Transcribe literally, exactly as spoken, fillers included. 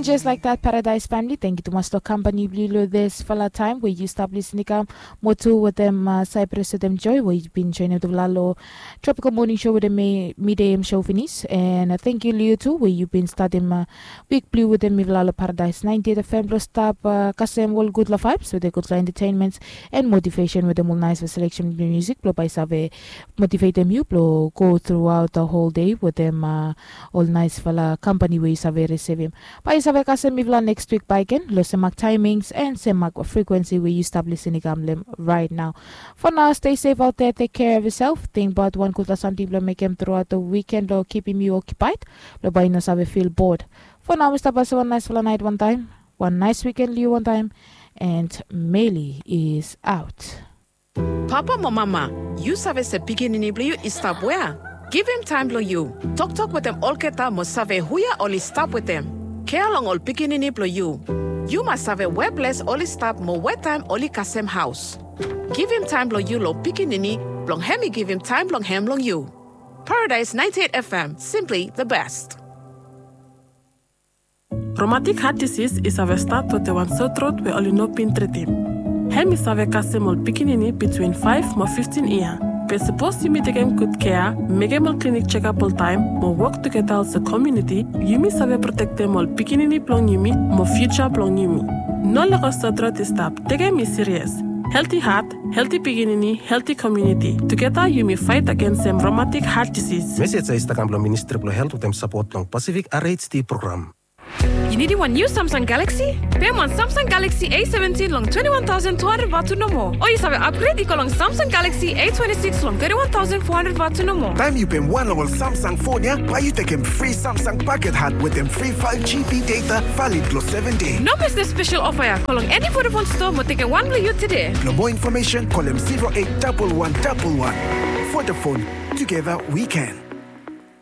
Just like that, Paradise family, thank you tumas long kampani blong yu long disfala taem we yu stap lisin i kam. Mo tu wetem Cyprus wetem Joy we yu bin joinim tufala long Tropical Morning Show wetem mi, midei em show finis. And thank you long yu tu we yu bin statim wik blong yu wetem mifala long Paradise ninety-eight F M blong stap kasem ol gudfala vibes wetem gudfala entertainments and motivation wetem ol naesfala selection blong music blong bae i save motivetem yu blong go throughout the whole day wetem ol naesfala kampani we yu save risivim. Bae yu save kasem mifala next wik bakegen long sem mak taemings and sem mak frekuensi we yu stap lisin i kam long em right now. For now, stay safe out there, take care of yourself. Tingbaot wan gudfala samting blong mekem truaot long wiken blong kipim yu okipaed blong bae yu no save fil bod. For now, mi stap pasem wan naesfala naet wantaem, wan naes wiken long yu wantaem. And Meli is out. Papa mo mama, yu save se pikinini blong yu i stap wea? Givim taem blong yu. Toktok wetem olgeta mo save hu ya oli stap wetem. Kea long ol pikinini blong yu. Yu mas save we ples oli stap mo we taem oli kasem haos. Givim taem blong yu long pikinini blong hem i givim taem blong hem long yu. Paradise ninety-eight F M, simply the best. Romatik hat disis i save stat wetem wan sotrot we oli no bin tritim. Hem i save kasem ol pikinini bitwin faef mo fiftin yia. Be sapos yumi tekem gud kea, mekem ol klinik jekap oltaem mo wok tugeta olsem komuniti, yumi save protektem ol pikinini blong yumi mo fiuja blong yumi. No lego sotrot i stap, tekem i sirias. Helti hat, helti pikinini, helti komuniti. Tugeta yumi faet agensem romatik hat disis. Mesej ya i stap kam blong Ministri blong Helt wetem sapot blong Pasifik R H D program. Yu nidim wan niu Samsung Galaxy? Pem wan Samsung Galaxy A seventin long twenty-one thousand two hundred vatu nomo. O yu save upgrade i go long Samsung Galaxy A twenty-six long thirty-one thousand four hundred vatu nomo. Taem yu pem wan long ol Samsung fon ya, bae yu tekem fri Samsung paket hat wetem fri five G B data valid long seven dei. No mes this special offer ya. Go long eni Vodafone store mo tekem wan blong yu tede. Blong moa infomesen, kolem zero eight double one double one. Vodafone, together we can.